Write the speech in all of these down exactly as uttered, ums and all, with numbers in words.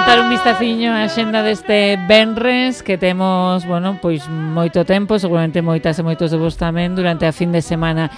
botar un vistaciño á xenda deste venres que temos, bueno, pois moito tempo, seguramente moitas e moitos de vos tamén durante a fin de semana.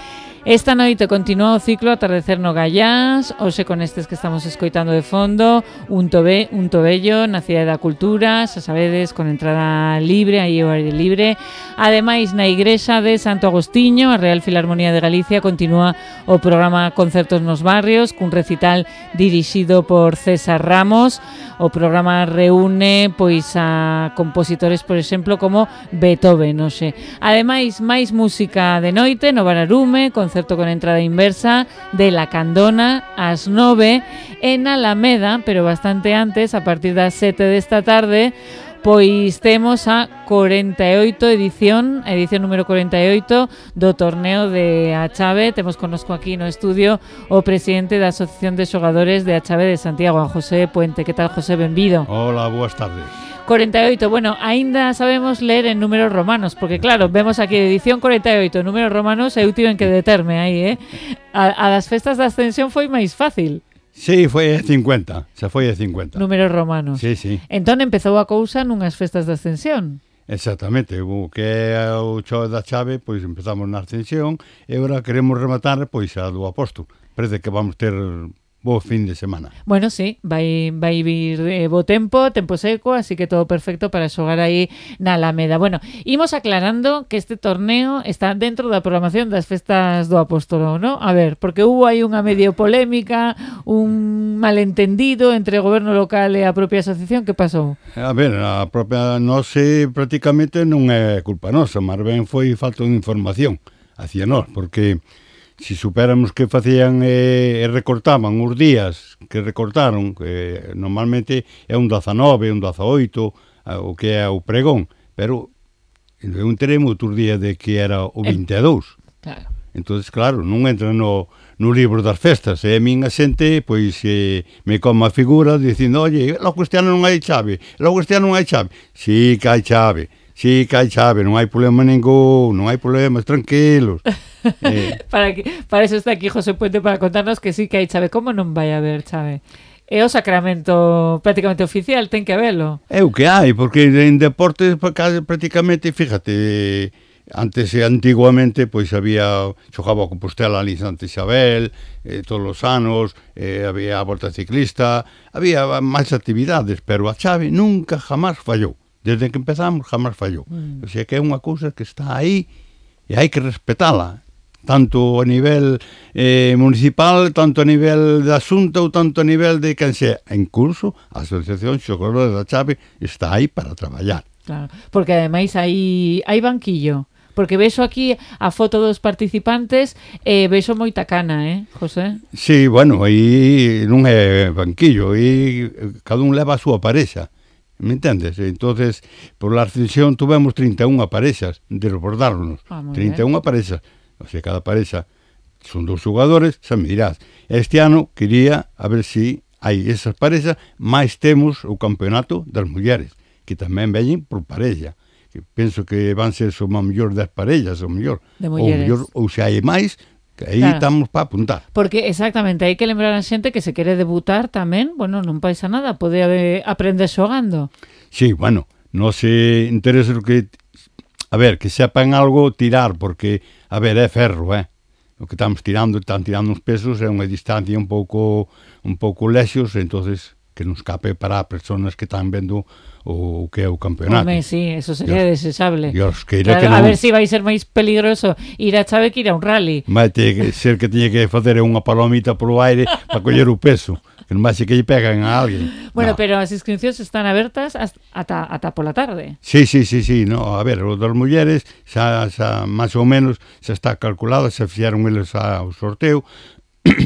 Esta noite continúa o ciclo Atardecer no Gallás, hoxe con estes que estamos escoitando de fondo, un tobé, un tobello na Cidade da Cultura, xa sabedes, con entrada libre, aí o aire libre. Ademais, na igrexa de Santo Agostiño, a Real Filarmonía de Galicia, continúa o programa Concertos nos Barrios, cun recital dirixido por César Ramos. O programa reúne pois a compositores, por exemplo, como Beethoven, hoxe. Ademais, máis música de noite no Bararume, concerto con entrada inversa de La Candona ás nove en Alameda, pero bastante antes, a partir das sete desta tarde, pois temos a corenta e oito edición, edición número corenta e oito do torneo de A Chave. Temos connosco aquí no estudio o presidente da Asociación de Xogadores de A Chave de Santiago, a José Puente. Que tal, José? Benvido. Hola, boas tardes. corenta e oito, bueno, aínda sabemos ler en números romanos, porque claro, vemos aquí edición corenta e oito, números romanos, eu tiven que determe aí, eh? A, a das festas da Ascensión foi máis fácil. Sí, foi de cincuenta, xa foi de cincuenta. Números romanos. Sí, sí. Entón empezou a cousa nunhas festas da Ascensión. Exactamente, o que é o Chove da Chave, pois empezamos na Ascensión e agora queremos rematar pois a do Apóstol. Parece que vamos ter bo fin de semana. Bueno, sí, vai vai vir eh, bo tempo, tempo seco, así que todo perfecto para xogar aí na Alameda. Bueno, imos aclarando que este torneo está dentro da programación das festas do Apóstolo, ¿no? A ver, porque hubo aí unha medio polémica, un malentendido entre o goberno local e a propia asociación. Que pasou? A ver, a propia nose prácticamente non é culpa nosa, máis ben foi falta de información hacia nós, porque si supéramos que facían e eh, recortaban os días que recortaron, que normalmente é un dezanove, un dezaoito, o que é o pregón, pero eu enterei outros días de que era o vinte e dous. Claro. Entonces, claro, non entra no, no libro das festas, e a min a xente, pois, eh, me come a figura dicindo, oye, logo este ano non hai chave, logo este ano non hai chave. Sí que hai chave. Sí, que hai chave, non hai problema ningún, non hai problemas, tranquilos. eh. para, que, para eso está aquí José Puente, para contarnos que sí que hai chave. Como non vai haber chave? É o sacramento prácticamente oficial, ten que habelo. É o que hai, porque en deportes prácticamente, fíjate, antes e antiguamente, pois había, xogaba a Compostela ali en Santa Isabel, eh, todos os anos, eh, había a volta ciclista, había máis actividades, pero a chave nunca jamás fallou. Desde que empezamos, jamás fallou. Mm. O sea que é unha cousa que está aí e hai que respetala, tanto a nivel eh, municipal, tanto a nivel de asunto ou tanto a nivel de quen sea. En curso, a Asociación Xogadores da Chave está aí para traballar. Claro, porque ademais hai, hai banquillo. Porque vexo aquí a foto dos participantes e eh, vexo moita cana, eh, José? Sí, bueno, aí non é banquillo, aí cada un leva a súa parexa. Me entendes? Entonces, por la Ascensión tuvemos trinta e unha parexas de rebordarnos. Ah, trinta e unha parexas. O sea, cada parexa son dos xogadores, xa me dirás. Este ano quería a ver si hai esas parexas, máis temos o campeonato das mulleres, que tamén veñen por parexa. Que penso que van ser só mellor dez parellas, ou mellor. De mulleres. Ou, mellor, ou se hai máis, que aí claro, estamos para apuntar. Porque exactamente, hai que lembrar a xente que se quere debutar tamén, bueno, non pasa nada, pode aprender xogando. Sí, bueno, non se interesa o que, a ver, que sepan algo tirar, porque, a ver, é ferro, eh? O que estamos tirando, están tirando uns pesos, é unha distancia un pouco un pouco lexos, entonces que non escape para as personas que están vendo o que é o campeonato. Home, sí, eso sería Dios, desexable. Dios, que claro, que non... A ver se si vai ser máis peligroso ir a chave que ir a un rally. Vai ter que ser que teña que facer unha palomita polo aire para coller o peso, que non vai ser que lle pegan a alguén. Bueno, no. Pero as inscripcións están abertas ata, ata pola tarde. Sí, sí, sí, sí, no, a ver, o das mulleres xa, xa máis ou menos xa está calculado, xa fixeron eles ao sorteo,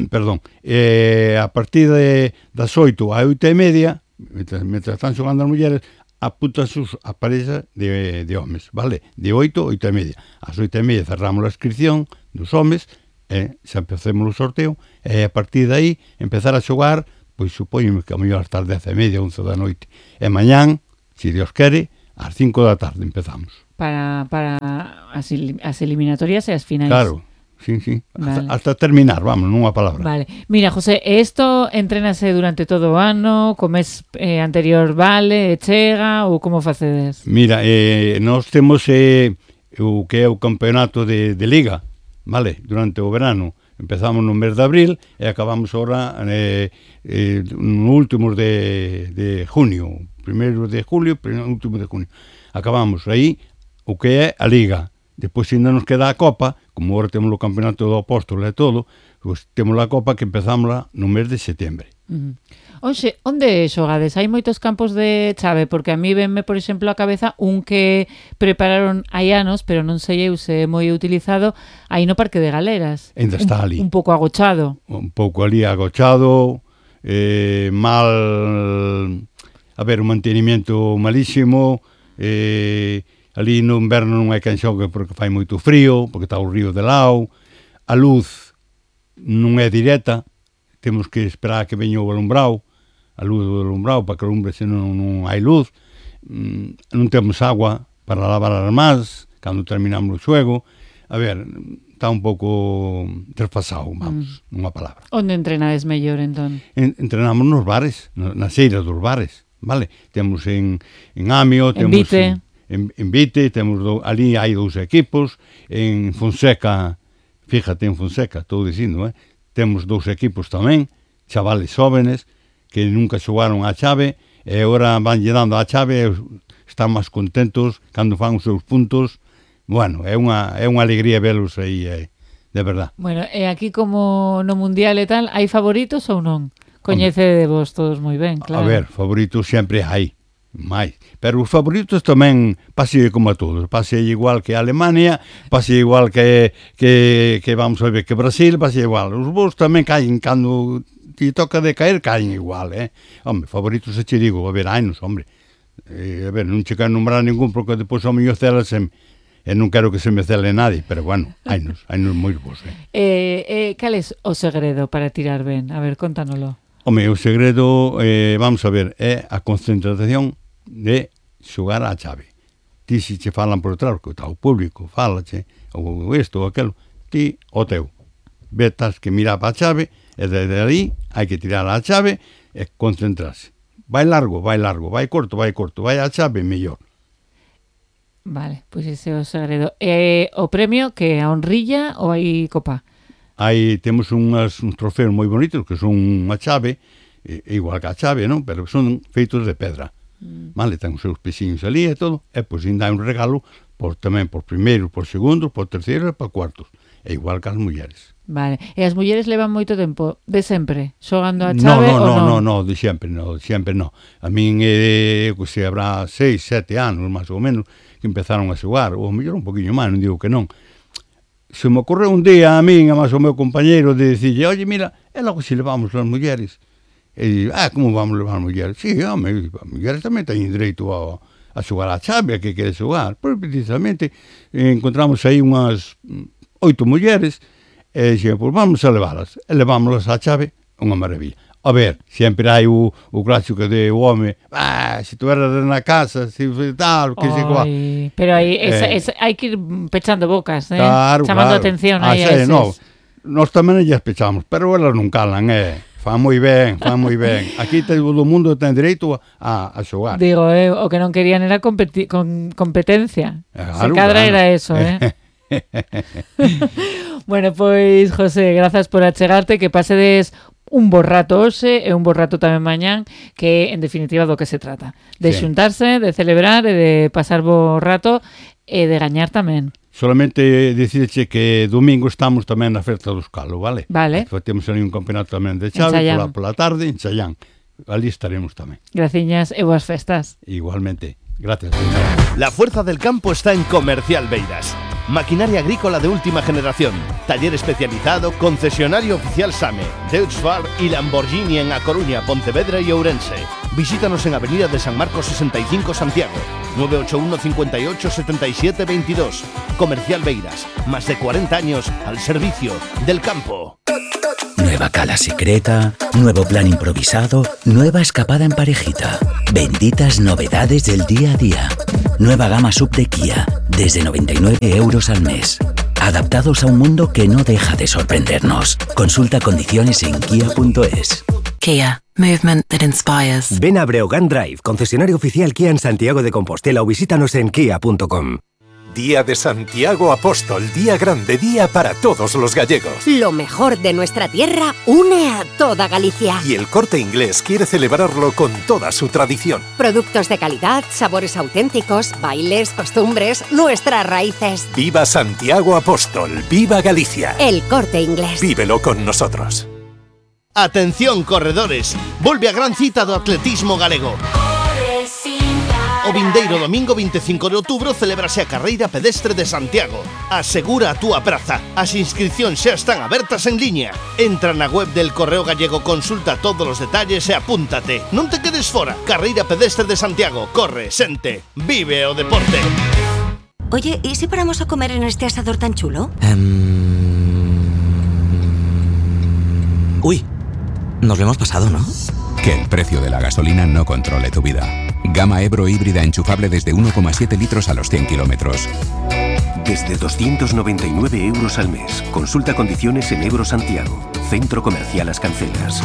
perdón, eh, a partir de das oito a oito e media, Mientras, mientras están xogando as mulleres, apuntan sus a parexa de, de homes, vale? De oito a oito e media. As oito e media cerramos a inscripción dos homes, e xa empecemos o sorteo, e a partir de aí empezar a xogar, pois supoño que a mellor hasta as dez e media, once da noite. E mañán, se Dios quere, ás cinco da tarde empezamos. Para, para as, as eliminatorias e as finais. Claro. sí, sí. Vale. Hasta, hasta terminar, vamos, nunha palabra. Vale. Mira, José, isto entrénase durante todo o ano, co mes eh, anterior vale, e chega, ou como facedes? Mira, eh, nós temos eh, o que é o campeonato de, de liga, vale, durante o verano. Empezamos no mes de abril e acabamos ahora eh, eh, no último de, de junio, primeiro de julio, último de junio. Acabamos aí o que é a liga. Depois ainda nos queda a Copa, como agora temos o campeonato do Apóstolo e todo, pois temos a Copa que empezamos no mes de setembro. Uh-huh. Oxe, onde xogades? Hai moitos campos de chave, porque a mí venme, por exemplo, a cabeza un que prepararon hai anos, pero non sei eu se é moi utilizado, aí no Parque de Galeras. Ainda está un, ali. Un pouco agochado. Un pouco ali agochado, eh, mal... A ver, un mantenimiento malísimo, eh... ali no inverno non hai quen xogue porque fai moito frío, porque está o río de lao, a luz non é directa, temos que esperar que veña o alumbrado, a luz do alumbrado para que alumbre, senón non hai luz, non temos agua para lavar as mans, cando terminamos o xoego, a ver, está un pouco desfasado, vamos, mm. nunha palabra. Onde entrenades mellor, entón? En, entrenamos nos bares, nas eiras dos bares, vale? Temos en, en Amio, en temos Vite. en En, en Vite, temos do, ali hai dous equipos, en Fonseca, fíjate, en Fonseca, estou dicindo, eh, temos dous equipos tamén, chavales jóvenes, que nunca xogaron a chave, e agora van dando a chave, e están máis contentos cando fan os seus puntos. Bueno, é unha, é unha alegría velos aí, eh, de verdad. Bueno, e aquí como no Mundial e tal, hai favoritos ou non? Coñece vos todos moi ben, claro. A ver, favoritos sempre hai. máis, pero os favoritos tamén pase como a todos, pase igual que a Alemania, pase igual que, que, que vamos a ver que Brasil, pase igual, os vos tamén caen cando te toca de caer, caen igual, eh? Hombre, favoritos se che digo, a ver, hainos, hombre, eh, a ver, non che quero nombrar ningún porque depois ao mellor celasem e non quero que se me cele nadie, pero bueno, hainos, hainos moi bons, eh? Eh, eh, cal é o segredo para tirar ben? A ver, contánoslo. Home, o segredo, eh, vamos a ver, é a concentración de xogar á chave. Ti se che falan por detrás, que está o público, falache, ou isto ou aquelo, ti o teu. Vetas que mirar para a chave, e desde ali hai que tirar a chave e concentrarse. Vai largo, vai largo, vai corto, vai corto, vai a chave, mellor. Vale, pois pues ese é o segredo. E o premio, que a honrilla ou hai copa? Aí temos unhas, uns trofeos moi bonitos que son unha chave, e, igual que a chave, non? Pero son feitos de pedra. Mm. Vale, ten os seus pesiños ali e todo, e pois ainda hai un regalo por, tamén por primeiros, por segundos, por terceiros e por cuartos. É igual que as mulleres. Vale, e as mulleres levan moito tempo, de sempre, xogando a chave no, no, ou non? No, no, no, de sempre, no, sempre no. A min, eh, que se habrá seis, sete anos, máis ou menos, que empezaron a xogar, ou mellor un poquinho máis, non digo que non. Se me ocorreu un día a min, a máis o meu compañeiro, de dicirlle, oye, mira, é logo se levamos as mulleres. E digo, ah, como vamos levar as mulleres? Sí, home, as mulleres tamén teñen dereito a, a xogar a chave, a que quere xogar. Pois, precisamente, encontramos aí unhas oito mulleres, e dixen, pois vamos a leválas. E levámoslas á chave, unha maravilla. A ver, sempre hai o, o clásico de o home, ah, se tu eras na casa, se tal, que se coa. Pero aí esa, eh, esa, hai que ir pechando bocas, eh? Claro, chamando claro. atención ah, aí sí, a eses. No, nós tamén ellas pechamos, pero elas non calan, eh? Fan moi ben, fan moi ben. Aquí todo o mundo ten dereito a, a xogar. Digo, eh, o que non querían era competi- con competencia. Claro, Se cadra claro. era eso, eh? Bueno, pois, José, grazas por achegarte, que pasedes un bo rato hoxe e un bo rato tamén mañán, que en definitiva do que se trata. De sí. xuntarse, de celebrar e de pasar bo rato e de gañar tamén. Solamente dicirche que domingo estamos tamén na Ferta do Escalo, vale? Vale. Temos ali un campeonato tamén de chave, pola, pola tarde, en Chayán. Ali estaremos tamén. Graciñas e boas festas. Igualmente. Gracias. La fuerza del campo está en Comercial Beiras. Maquinaria agrícola de última generación, taller especializado, concesionario oficial SAME, Deutz-Fahr y Lamborghini en A Coruña, Pontevedra y Ourense. Visítanos en Avenida de San Marcos sesenta y cinco Santiago, nueve ocho uno cinco ocho siete siete dos dos. Comercial Beiras, más de cuarenta años al servicio del campo. Nueva cala secreta, nuevo plan improvisado, nueva escapada en parejita. Benditas novedades del día a día. Nueva gama sub de Kia, desde noventa y nueve euros al mes. adaptados a un mundo que no deja de sorprendernos. Consulta condiciones en kia punto es. Kia. Movement that inspires. Ven a Breogán Drive, concesionario oficial Kia en Santiago de Compostela, o visítanos en kia punto com. Día de Santiago Apóstol, día grande, día para todos los gallegos. Lo mejor de nuestra tierra une a toda Galicia. Y el Corte Inglés quiere celebrarlo con toda su tradición. Productos de calidad, sabores auténticos, bailes, costumbres, nuestras raíces. ¡Viva Santiago Apóstol! ¡Viva Galicia! El Corte Inglés. Vívelo con nosotros. Atención, corredores, volve a gran cita do atletismo galego. O vindeiro domingo veinticinco de outubro celebrase a carreira pedestre de Santiago. Asegura a túa praza. As inscripcións xa están abertas en liña. Entra na web del Correo Gallego, consulta todos os detalles e apúntate. Non te quedes fora. Carreira pedestre de Santiago. Corre, sente, vive o deporte. Oye, ¿y si paramos a comer en este asador tan chulo? Um... Uy, nos lo hemos pasado, ¿no? Que el precio de la gasolina no controle tu vida. Gama Ebro híbrida enchufable desde uno coma siete litros a los cien kilómetros. Desde doscientos noventa y nueve euros al mes. Consulta condiciones en Ebro Santiago. Centro Comercial Las Cancelas.